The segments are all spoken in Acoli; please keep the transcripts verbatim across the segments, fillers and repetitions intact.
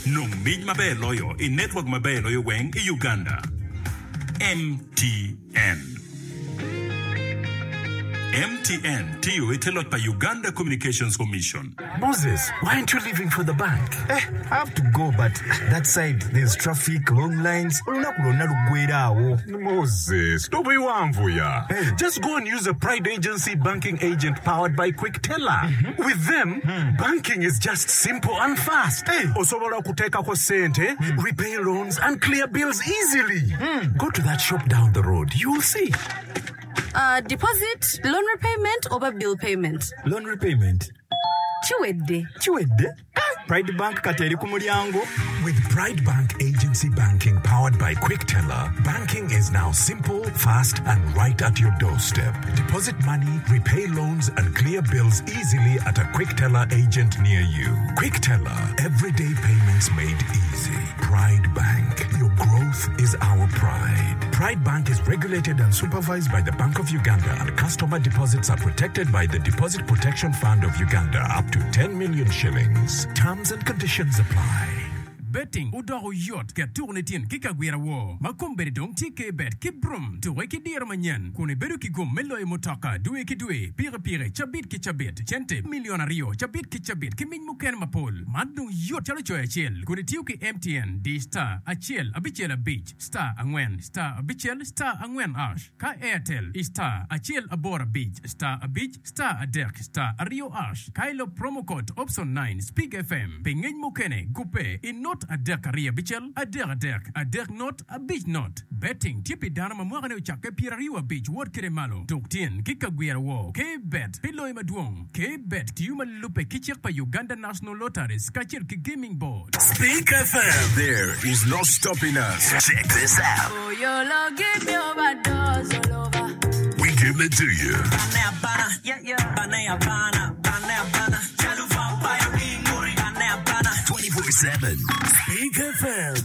Nong mic maber loyo i network maber loyo weng i Uganda. M T N. M T N tiyo i te loc pa Uganda Communications Commission. Moses, why aren't you leaving for the bank? Eh, I have to go, but that side there's traffic, long lines. Olunaku lwonna luggwera awo. Moses, tobiwanvuya. Hey. Just go and use a Pride Agency banking agent powered by Quickteller. With them, banking is just simple and fast. Hey. Osobola okuteekako ssente, repay loans and clear bills easily. Go to that shop down the road. You'll see. Uh, deposit, loan repayment oba bill payment? Loan repayment. Kiwedde. Kiwedde? Pride Bank kati eri ku mulyango. With Pride Bank Agency Banking powered by Quickteller, banking is now simple, fast, and right at your doorstep. Deposit money, repay loans, and clear bills easily at a Quickteller agent near you. Quickteller, everyday payments made easy. Pride Bank, your growth is our pride. Pride Bank is regulated and supervised by the Bank of Uganda, and customer deposits are protected by the Deposit Protection Fund of Uganda up to ten million shillings. Terms and conditions apply. Betting odoko yot ket tuko ni tyen ki kagwira wo ma kombeddi dong tye K-Bet ki Brum tuke ki diro manyen kun ibedo ki gum me loyo mutoka dwe ki dwe, pikipiki cabit ki cabit, cente milion aryo cabit ki cabit ki mic mukene mapol. Man dong yot calo coyo acel kun itiyo ki M T N di star acel abicel abic star angwen star abicel star angwen hash, ka Airtel i star acel aboro abic star abic star adek star aryo hash, ka ilo promo code option nine Speak F M. Pi ngec mukene gupe i not adek aryo abicel adek adek adek not abic not. Betting tye pi dano ma mwakane ocakke pyeraryo abic wot kede malo. Tuk tyen ki kagwira wo K-Bet pi loyo madwong. K-Bet tiyo ma lubbe ki cik pa Uganda National Lotteries kacel ki Gaming Board. Speak F M. There is no stopping us. Check this out. Oh, your give me overdose all over. We give it to you. twenty-four seven. Speak F M.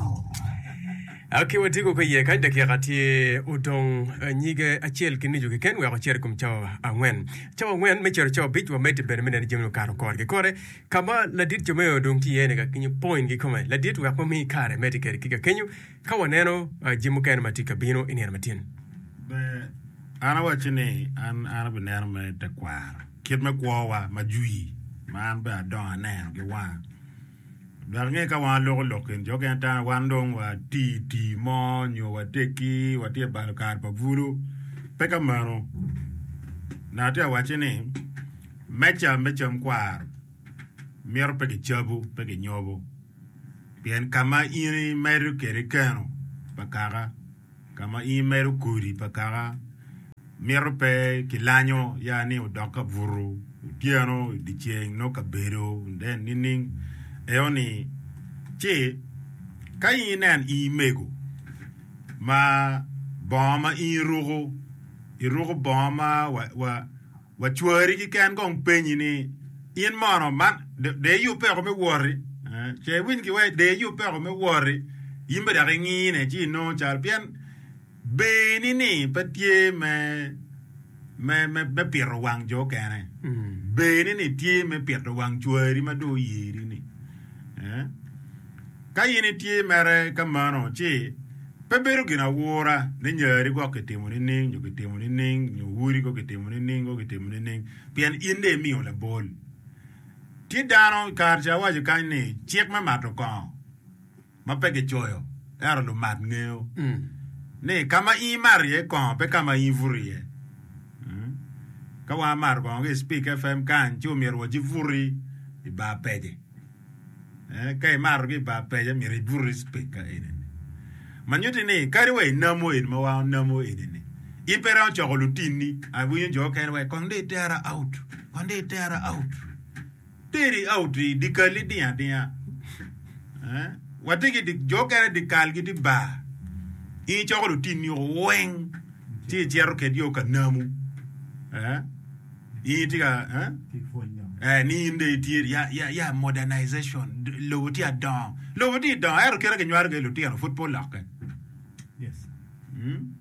Ok, watiko ka iye kany dakika tye odong eh, nyige acel ki nucu keken wek ocito i kom cawa angwen, cawa angwen me cito cawa abic. Wamedde bene me neno jami okato korgi kore ka ma ladit Jomeo dong tye iye ni ka kenyo point kikome ladit wek wami kare medde kede ki ka kenyo ka waneno eh, jami mukene ma tye ka bino i nino matin. Ber, an awacci ni an an abineno me tekwaro kit me kwowa ma jwi ma an bene adongo aneno ki wanga dok inge ka wan aloko lok eni jo okene tamo wan dong wati tii mo nyo wateggi watye balo kare pa bulu. Pe ka meno na atye awacci ni meca me cam kwaro mito pe kicabu pe kinyobo pien ka ma in imedo kede keno pa kaka ka ma in imedo kodi pa kaka mito pe kilanyo ya ni odok ka buto otyeno dyeceng nongo kabedo then nining eo ni ci ka in inen in mego ma bongo ma in iruko iruko bongo ma wa, wa, wacwari keken kong penyi ni in mono man de iyub peko me woti eh, ce iwiny ki wai de iyub peko me woti in be dok ingine ci inongo cal pien beni ni pe tye me me me me pito wang jo okene beni ni tye me pito wang cwari ma dong oyeri ni eh? Ka in itye mere ka mano ci pe bedo gin awura ni nyari gwok kitimo nining nyo kitimo nining nyo wodi ko kitimo nining ko kitimo nining pien in de imiyo labol tye dano kare ca awaco kany ni cik me mato kongo ma pe kicoyo ento lumat ngeyo ni ka ma in imato iye kongo pe ka ma in ibuto iye. Mm. Ka wan amato kongo ki i Speak F M kany ci omyero waci buti i bar pece. Eh, ka imato ki i bar pece myero ibuti i Speak ka eni ma nyutti ni kadi wa inamo eni ma wan onamo eni ni in pe romo coko lutinni. Awinyo jo okene wa kong dong itera out, kong dong itera out, teri out i dikali ding adinga. Eh, watye ki dik- jo okene dikal gitye bar in icoko lutinni weng ci icito kedgi o ka namu. Eh, in itye ka eh? Eh, ni in dong itye ya, ya, ya modernization D- lobo tye adongo, lobo tye idongo ento kite kinywalo kwede lutino pud pe olokke. Mm?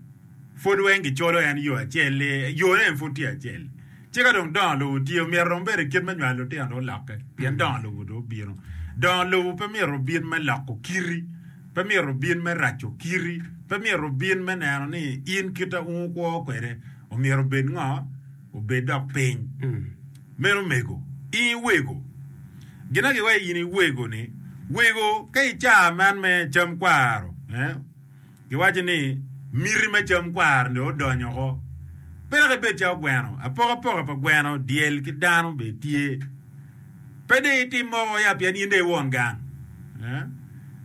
Pud weng gicolo en yo acel-li, yone en pud tye acel. Ci ka dong dongo lobo tye, myero dong bed kit me nywalo lutino dong olokke pien dongo lobo dong obino. Dongo lobo pe myero obin me loko kiti, pe myero obin me raco kiti, pe myero obin me neno ni in kita ungu kwo kwede omyero obed ngo obed dok piny. Meno mego in iwego. Gin giwaco in iwego ni wego ka i man me cam kwaro eh? Giwaco ni miti me cam kwaro ni odonyo ko. Pe dok ibed calo gweno, apokapoka pa gweno dyel ki dano bene tye. Pe dong itim moko ya pien in dong iwon gang. Eh?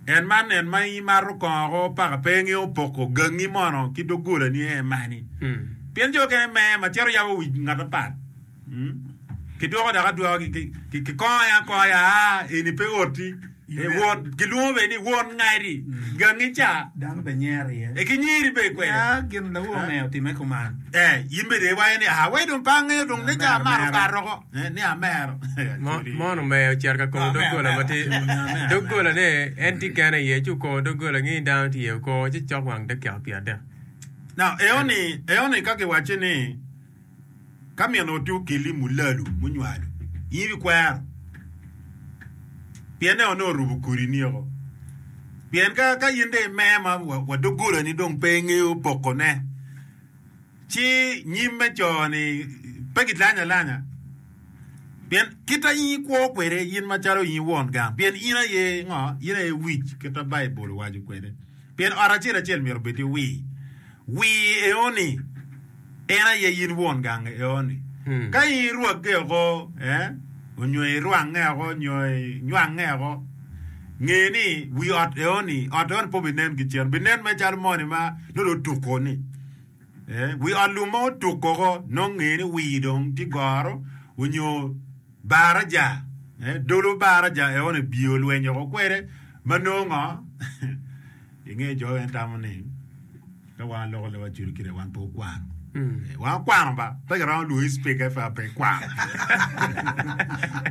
En man en ma imato kongo paka pe ingeyo poko gangi mono ki doggolani en mani. Pien jo okene me ma cito yabo wi ngat apat. Kidwoko dok adwoka kikongo ya akonga ya aa eni pe oti. E won kilwongo bene ni won ngadi gangi ca Dano be nyero iye. e ki nyeri be kwede. Ya gin lawo me otime kuman. Eh, in bene iwaco ni ah wai dong pe angeyo dong ne ca amaro kato oko. Eh, ni amero. Mono omeyo ocito ka kongo doggola ma tye doggola ne en tye kene iye ci okongo doggola ngi dano tye iye okongo ci cok wang dakika pyera adek. Now, eoni eoni ka kiwaco ni ka min oti okeli mulalu munywalo in ibikwero pien ne onongo orubo kodi ni oko pien ka ka in dong ime ma wa, wa doggolani dong pe ingeyo pokone ci nyim me co-ni pe gilanyo alanya pien kita in ikwo kwede in macalo in won gang pien in aye ngo in aye wic kita Baibul owaco kwede pien ot acel acel myero obed ki wir wir eoni en aye in won gang eoni ka in irwagge oko eh, onyo irwange oko onyo inywange oko nge ni wi ot eoni ot eoni pe obinen ki cen binen mere calo moni ma nongo dong otuko ni eh, wi ot lum ma otuko oko nongo nge ni wir dong tye goro onyo baraja eh, dolo baraja eoni biye olwenyo oko kwede ma nongo ngo inge jo en tamo ni ka wan loko leb acoli kite wan pe okwano Eh, wan okwano ba pe kiromo lwongi speaker fa pe ikwano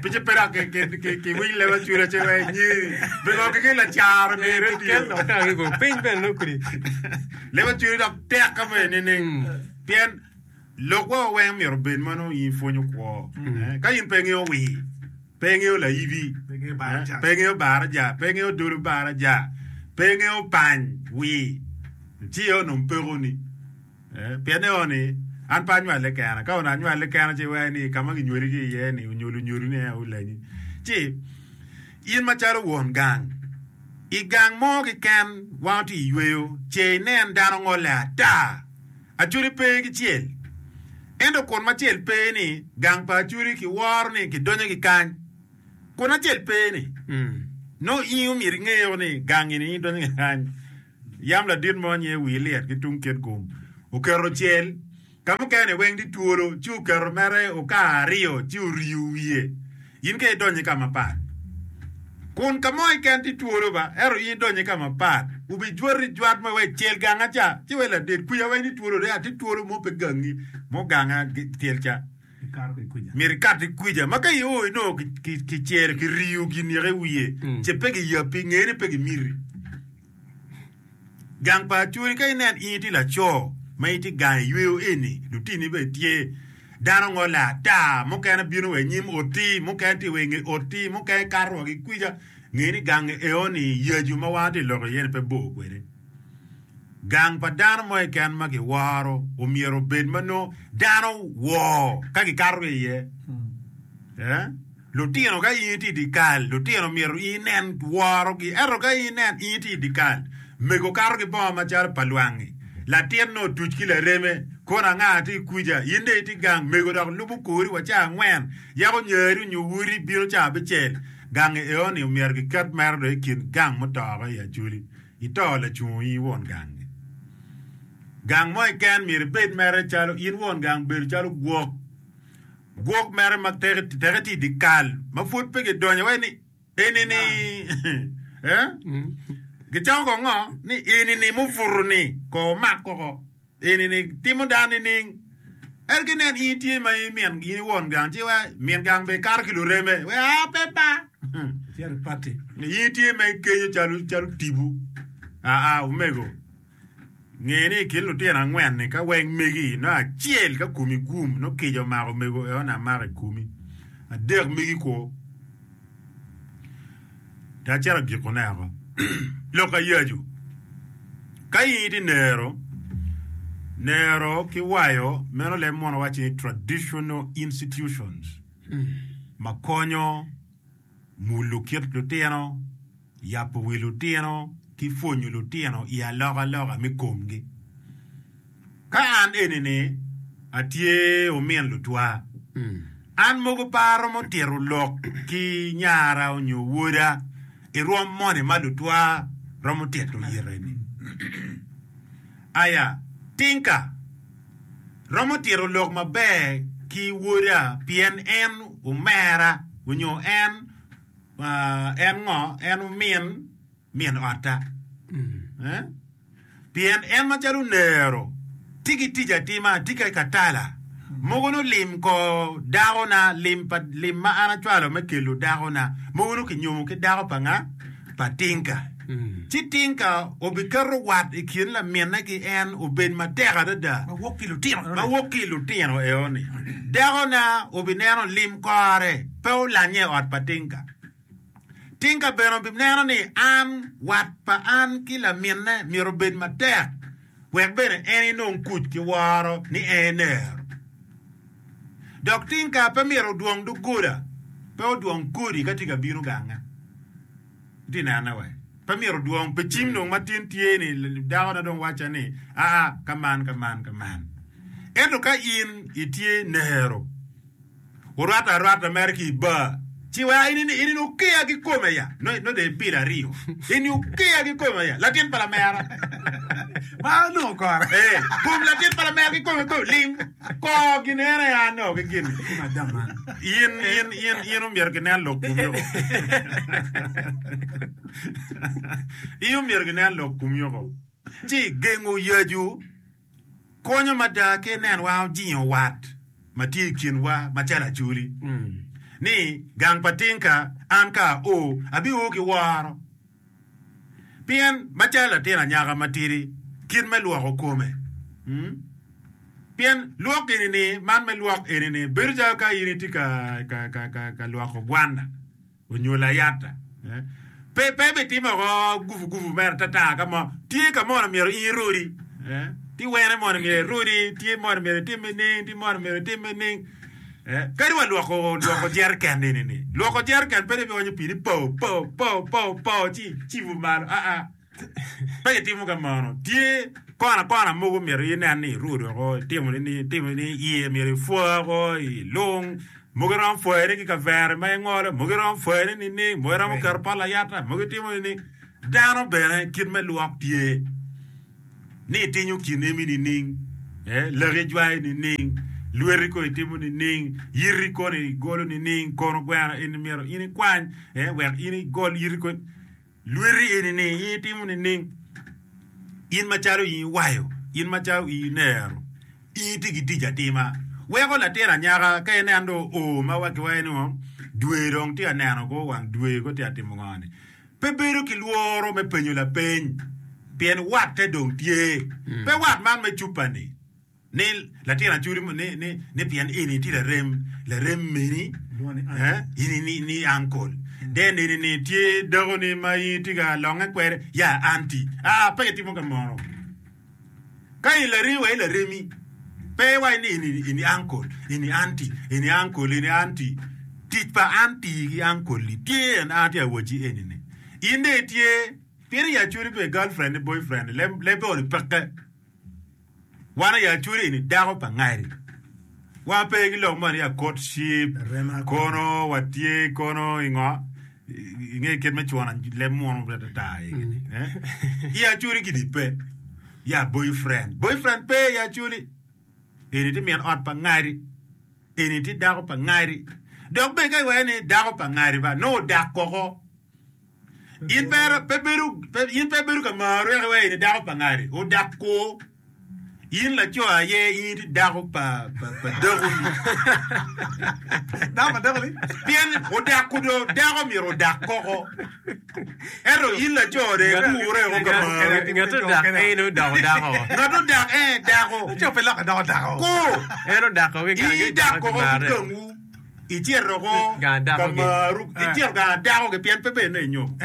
pice pe dok kiwiny leb acoli acel wa inyeri pingo kiki lacaro ni radio Piny bene nongo kodi. leb acoli dok tek ka bene nining pien lokwa weng myero obed ma nongo in ipwonyo kwo Eh, ka in pe ingeyo wir pe ingeyo laibi eh, pe ingeyo baraja pe ingeyo dolo baraja pe ingeyo pany wir ci onongo pekoni Eh, pien eoni an pe anywale kena ka onongo anywale kena ci iwaco ni ka ma kinywali ki iye ni onyo lunyodoni aye olanyi ci in macalo won gang i gang mo keken wan tye iyweyo ce inen dano ngole ata acoli pe ki cel ento kun ma cel pe ni gang pa acoli kiworo ni kidonyo ki kany kun acel pe ni no in omyero ingeyo ni gang eni in idonyo ki kany yam ladit mo nye wi lyet ki tung Kitgum oketo cel ka mukene weng tye twolo ci oketo mere okar aryo ci oriyo wiye in ka idonyo ka mapat kun ka mo keken tye twolo ba ento in idonyo ka mapat obijwati jwat ma wek cel ganga ca ci wek ladit kwica weng tye twolo de tye twolo mo pe gangi mo ganga tyel ca myero ikat ki kwica ma ka io inongo kicelo kiriyo gin yeke wiye ce pe giyapi nge ni pe gimiti gang pa acoli ka inen in itye laco ma itye gang iyweyo eni lutini bene tye dano ngole ata mukene bino wa inyim oti mukene tye wa inge oti mukene kato wa ki kwica nge ni gang eoni yacu ma wan tye loko iye ni pe bor kwede gang pa dano mo keken ma kiworo omyero obed ma nongo dano wor ka gikato ki iye eh? Lutino ka in itye i dye kal lutino myero in inen worogi ento ka in inen in itye i dye kal mego kato ki bongo macalo pa lwangi latin nongo otuc ki lareme kono anga tye kwica in dong itye gang mego dok lubo kori wa ca angwen yako nyari onyo wodi bino ca abicel gang eoni omyero kiket mere dong i kin gang mutoko i acoli ito lacungo in won gangi gang mo keken myero ibed mere calo in won gang bedo calo gwok gwok mere ma teke tye i dye kal ma pud pe gidonyo wai ni eni ni eh? Gicako ko ngo ni eni ni mubuto ni ko omak koko eni ni timo dano nining ento kinen in tye ma in min in won gang ci wa min gang be kato ki lureme we a pe ba in tye ma ikenyo calo calo tipo aa omego nge ni i kin lutino angwen ni ka weng megi no acel ka komi gum no kica omako omego eoni amako i komi adek megi kwo Ta acito agikone oko. Lok ayacu. Ka in itye nero, nero ki wayo meno leb munu waco ni traditional institutions ma konyo mulo kit lutino, yabo wi lutino ki pwonyo lutino i alokaloka me komgi. Ka an eni-ni atye omin lutwa, an mogo pe aromo tito lok ki nyara nyo woda i rwom moni ma lutwa romo tito ire-ni. Aya, tinka romo tito lok maber ki woda pien en omera nyo en en ngo en omin min otta. Eh? Pien en macalo onero tye ki tic atima, tye ki katala mogo nongo lim ko dakona, lim pa lim ma an acwalo me kelo dakona, mogo nongo kinyomo ki dako pa nga? Pa Tinka. Ci Tinka obiketo wat i kin laminne ki en obed matek adada. Ma wok ki lutino. Ma wok ki lutino eoni. Dakona obineno lim kore pe olanye i ot pa Tinka. Tinka bene obineno ni an wat pa an ki laminne myero obed matek wek bene en enong kuc ki woro ni en enero. Dok Tinka pe myero odwong doggola, pe odwong kodi ka tye ka bino ganga. Itye nene we? Pe myero odwong pi cim dong ma tin tye ni dakona dong wacca ni aa ka man ka man ka man. Ento ka in itye nero, wurwatte arwata mere ki i bar, ci wek in in okeya kikome ya, no no dong ipilo aryo, in okeya kikome ya, latin pa lamera. Ma onongo kore. Eh, kom latin pa lamera kikome kome lim kor gin en aye ano ki gin. In in in in omyero kinen lok komi oko. In omyero kinen lok komi oko. Ci gengo yacu konyo mada ki inen wa ojingo wat ma tye i kinwa macalo acholi. Ni gang pa Tinka an ka ao abio ki woro. Pien macalo latin anyaka matidi kit me lwoko kome. Pien lwok eni-ni, man me lwok eni-ni bedo calo ka in itye ka, ka, ka, ka, ka lwoko gwanna onyo layata. Pe, pe bitimo oko gufu gufu mere atata ka mo. Tye ka mono myero in irodi. Tye wene mono myero irodi, tye mono myero itim nining, tye mono myero itim nining. Kadi wa lwoko, lwoko jereken eni-ni. Lwoko jereken pe dong ibionyo pii ni po, po, po, po, po, ci icibo malo. Aa. Pe kitimo ka meno. Tye kona kona mogo myero inen ni irudo oko, itimo ni, itimo ni iye myero ipwo oko, ilung. Mogo iromo pwoyone ki kavere ma ingolo, mogo iromo pwoyone nining, mogo iromo keto pot layata, mogo itimo nining. Dano bene kit me lwok tye ni itinyo kin emi nining, eh, laki ijwayo nining, lweti kono itimo nining, yiti kono igolo nining, kono gweno eni myero in ikwany, eh, wek in igol yiti kono. Lweti eni ni in itimo nining? In macalo in iwayo, in macalo in inero, in itye ki tic atima. Weko latin anyaka ka inen dong oo ma wa kiwaco ni ngo, dwe dong tye ka neno ko wang dwe ko tye ka timo ngo ni. Pe bedo ki lworo me penyo lapeny pien watte dong tye. Pe wat man me cupa ni. Ni latin acoli ni ni ni pien eni tye larem larem meni eh ini ni ni uncle then eni ni tye dako ni ma in itye ka longe kwede ya aunty aa pe kitimo ka mono ka in laremi wa i laremi pe iwaco ni eni eni uncle eni aunty eni uncle eni aunty tic pa aunty ki uncle li tye en an atye ka wacci eni ni in dong itye pien i acoli be girlfriend ki boyfriend leb lebbe oni peke. Wan aye acwali eni dako pa ngari. Wa pe ki lok mo ni a courtship, kono watye kono i ngo, inge kit me cwono leb munu atata eni. I acwali gini pe. Ya boyfriend. Boyfriend pe i acwali. Eni tye min ot pa ngari. Eni tye dako pa ngari. Dok bene ka iwaco ni dako pa ngari ba, nongo odak koko. In pe pe bedo in pe bedo ka maro eka iwaco ni dako pa ngari odak kwo. In laco aye in itye dako pa pa pa dakoni. Dako pa dakoni? Pien odak kudo dako myero odak koko. Ento in laco de ikure oko ka maro. Ngat odak en odoko dako. Ngat odak en dako. Laco pe lokke doko dako. Ku. En odako ki In idak koko ki gangwu. Icito ko ka maru, icito gang dako ki pien pe bene inyomo.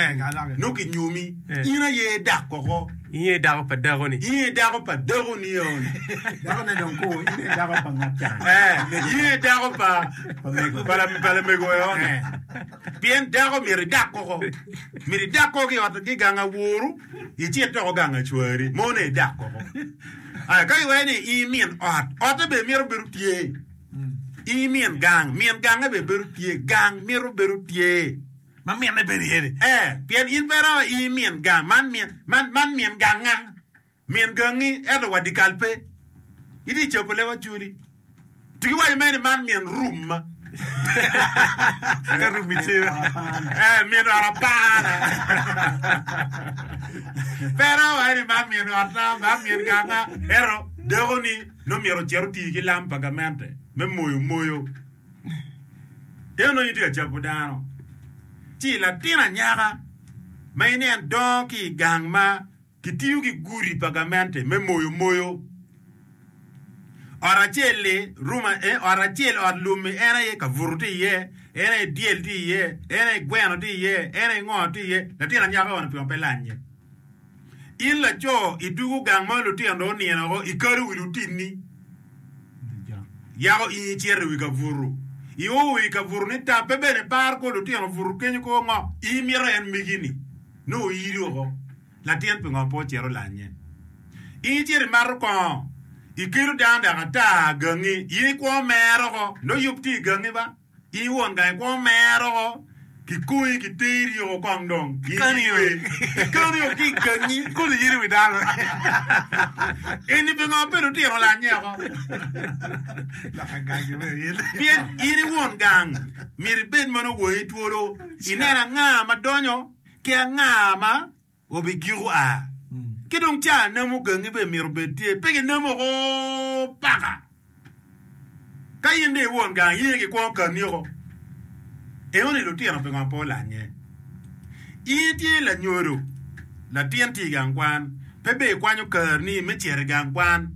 Nongo kinyomi, in aye idak koko. In aye dako pa dakoni. In aye dako pa dakoni eni. Dakone dong ku, in aye dako pa ngat ca. In aye dako pa pa lamego eni. Pien dako myero idak koko. Myero idak koko ki i ot ki gang aworu, icit doko gang acwari. Mone idak koko. Aya, ka iwaco ni in min ot, otte bene myero bedo tye. In min gang, min gange bene bedo tye. Gang myero bedo tye. Ma minne bedo iye ni. Eh, pien in pe iromo in min gang, man min, man, man min ganga. Min gangi, ento wa dikal pe. Itye i cobo leb acoli. Tuki waco mere ni man min rumma. Ka rummi tye. Eh, min ot apana. Pe iromo waco ni man min otta, man min ganga. Ento, dako-ni nongo myero ocit oti ki lam pa gamente me moyo moyo. En onongo tye ka cabo dano. Ci latin anyaka ma inen dongo ki i gang ma kitiyo ki gudi pa gamente me moyo moyo. Ot acel-li, rum, ot acel, ot lum-mi en aye kabuto tye iye, en aye dyel tye iye, en aye gweno tye iye, en aye ngo tye iye. Latin anyaka eni pingo pe lanye? In laco idwogo gang ma lutino dong onino woko, ikalo wi lutinni. Yako in icito i wi kabuto. Io wi kabuto ni tab pe bene par ko lutino obuto kenyo ko ngo. In mito en megi-ni nongo oiri woko. Latin pingo pe ocito olanye? In icito imato kongo, ikelo dano dok ata gangi, in ikwo mere oko, nongo yub tye i gangi ba. In won gang ikwo mere oko, kikonyi kiteri oko kong dong. Kikani oko ki i gangi. Koni in i wi dano. Eni pingo pe lutino olanye oko? Pien in i won gang, myero ibed ma nongo wangi twolo, inen anga ma donyo ki anga ma obigiko a. Ki dong ca namo gangi bene myero obed tye, pe ginamo oko paka. Ka in dong i won gang, in aye gikwongo kani oko. Enoni lutino pingo pe olanye? In itye lanyodo, latin tye i gang kwan, pe bene ikwanyo kareni me cito i gang kwan.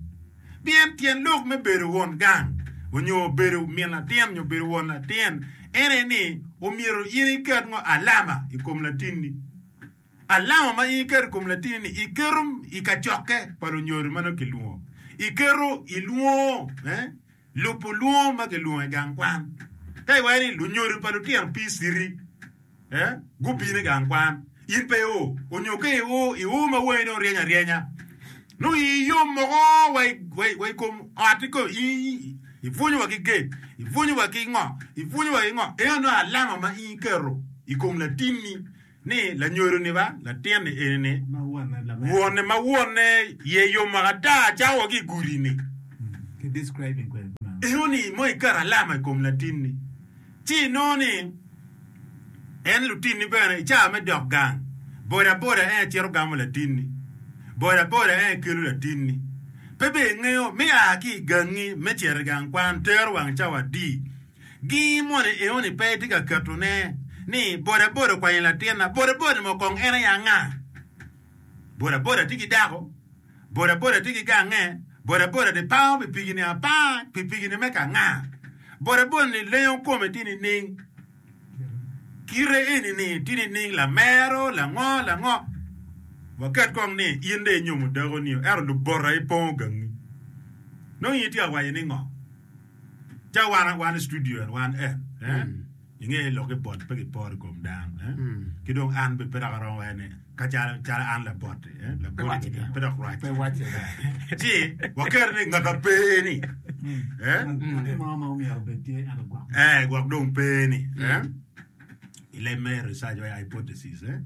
Pien tyen lok me bedo won gang onyo bedo min latin nyo bedo won latin en aye ni omyero in iket ngo alama i kom latinni. Alama ma in iketo i kom latinni iketo i kacokke pa lunyodo ma nongo kilwongo. Iketo i lwongo, eh, lubo lwongo ma kilwongo i gang kwan. Ka iwaco ni lunyodo pa lutino P C T, eh, gubino i gang kwan, in pe io, onyo ka io, io ma wangi dong ryeny aryenya. Nongo ii yom moko wa i, wa i, wa i kom ot i kom, i, ipwonyo wa ki gate, ipwonyo wa ki ngo, ipwonyo wa ki ngo. Eno nongo alama ma in iketo i kom latinni ni lanyodo-ni ba, latin-ni eni-ni, wonne ma wonne iye yom maka ata cako wa ki i gudi-ni. Eno ni mo iketo alama i kom latinni, ci inongo ni en lutinni bene i cawa me dok gang, boda boda en aye cito gamo latinni, boda boda en aye kelo latinni. Pe bene ingeyo me a ki i gangi me cito i gang kwan tero wang cawa adi. Gi moni eno ni pe itye ka ketone ni boda boda okwanyo latinna, boda boda mo kong en aye anga? Boda boda tye ki dako, boda boda tye ki gange, boda boda ni pango pikipiki ni apanga, pikipiki ni me ka nga? Boda boda ni lengo kome tye nining? Kite eni ni tye nining? Lamero, lango, lango? Waket kong ni in dong inyomo dako ni ento lubota ipongo gangi. Nongo in itye ka waco ni ngo? Ca wan wan i studio en wan en eh? Inge lok ki bot pe kiporo i kom dano eh? Ki dong an be pe dok aromo waco ni ka calo calo an labot-ti eh? Labot pe dok rac ci waketo ni ngat ma pe ni eh? Eh, gwok dong pe ni eh? I leb me research wa hypothesis eh?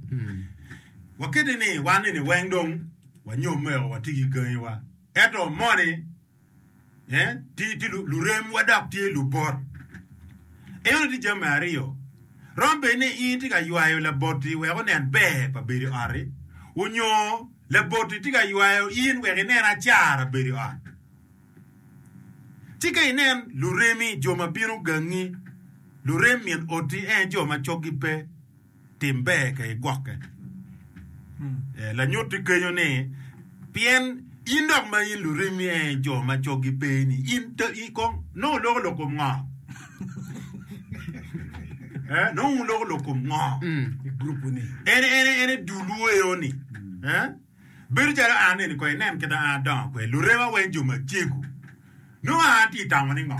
Wakete ni wan ni weng dong wanyomme o watye ki gangiwa ento moni eh, tye tye luremwa dok tye lubot. Eno tye jami aryo. Romo bed ni in itye ka ywayo labot-ti wek onen ber pa bedo i ot-ti, onyo labot-ti tye ka ywayo in wek inen acara bedo i ot. Ci ka inen luremi, jo ma bino gangi, lurem min oti en jo ma coggi pe, tim ber ka igwokke. Lanyut tye kenyo ni pien in dok ma in luremi en jo ma coggi pe ni in kong nongo loko lok kom ngo? Eh, nongo wun loko lok kom ngo? En en en e dulwu eo-ni. Eh? Bedo calo an eni ko inen kit ma an adongo kwede, lurema weng jo macego. Nongo an atye tamo ni ngo?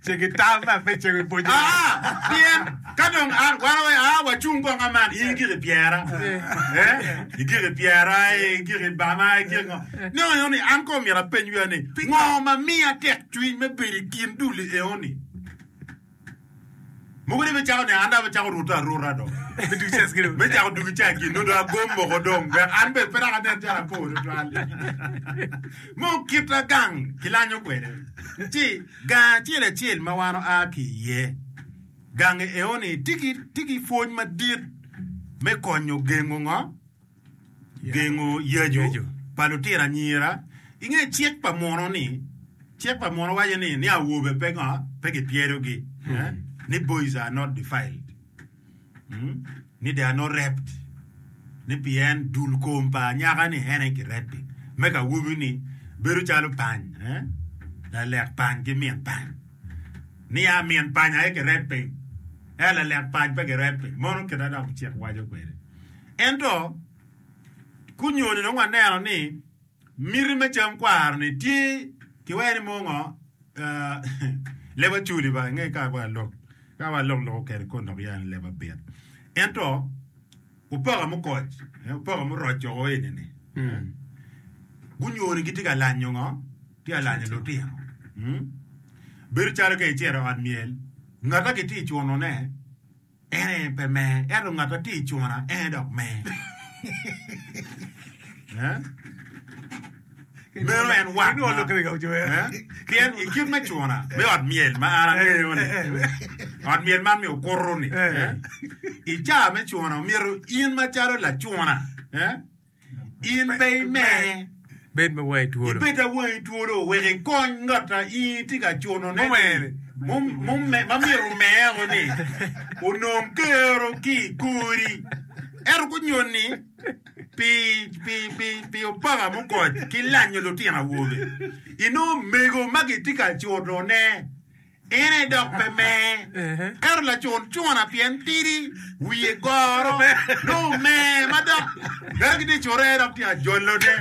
Cego itam ma pe cego ipwonyo. Ah, pien ka dong an wan wa a wacung kong aman in igiko i pyera. Eh? Igiko i pyera, igiko i bama, igiko ngo. Nongo eno ni an kong myero apeny wiya ni ngo ma miya tek cwiny me bedo i kin dul eo ni? Mogo ni bicako ni an dong abicako ruto aruta dong. Me cako dugo ca gin nongo dong agom moko dong wek an bene pe dok anen calo apor tutwal. Mo kita gang kilanyo kwede. Ci gang acel acel ma wan oa ki iye, gang eo ni tye ki tye ki pwony madit me konyo gengo ngo? Gengo yaco pa lutino anyira. Inge cik pa muno ni, cik pa muno waco ni ni awobe pe ngo? Pe kipyedogi. Eh? Ni boys are not defiled. Mm? Ni they are not raped. Ni pien dul kom pa anyaka ni en aye kirepi. Me ka awobi ni bedo calo pany. Eh? Lalek pany ki min pany. Ni a min pany aye kirepi. Ento lalek pany pe kirepi. Mono kit ma dok cik waco kwede. Ento kunyoni dong waneno ni miti me cam kwaro-ni tye kiweko ni mo ngo leb acoli ba inge ka wa lok ka wa lok loko kede kon dok ya ni leb abit ento opaka mukoc opaka muroc oko eni ni gunyoni gitye ka lanyo ngo tye ka lanyo lutino bedo calo ka icito i ot myel ngat ma kitye ka cunone En aye pe mer, ento ngat ma tye i cuna en aye dok mer. Eh? Meno en wat ma, eh? Pien i kit me cuna me ot myel ma an angeyo-ni, ot myel man me okuto-ni, eh? I caa me cuna omyero in macalo lacuna, eh? In pe imer. Bed ma wangi twolo. Ibed ma wangi twolo wek ikony ngat a in itye ka cunone-ni, ma myero omer-ni, onong kero ki i kori. Ento gunyoni pi opaka mukoc ki lanyo lutino awobe, inongo mego ma gitye ka cunone En aye dok pe mer, ento lacun cuna pien tidi, wiye goro, nongo omer ma dok bene gitye ka cure dok tye ka jolone.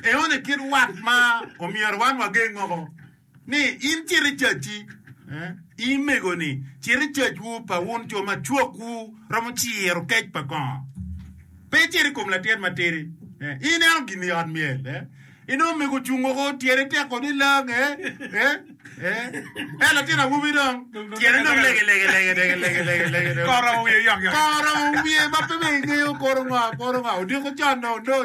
Enoni kit wat ma omyero wan wageng woko ni in cit i cacci, in mego-ni cit i cacwu pa wun jo ma cwakwu romo ciro kec pa kongo. Pe icit i kom latin matidi. Ineno gin i ot myel. Inongo mego ocung woko tyene tek kodi lang eh eh eh eh latin awobi dong tyene dong lege lege lege lege lege lege lege Koro wiye yok yok. Koro wiye ma pe bene ingeyo koro ngo koro ngo odiko con dong dong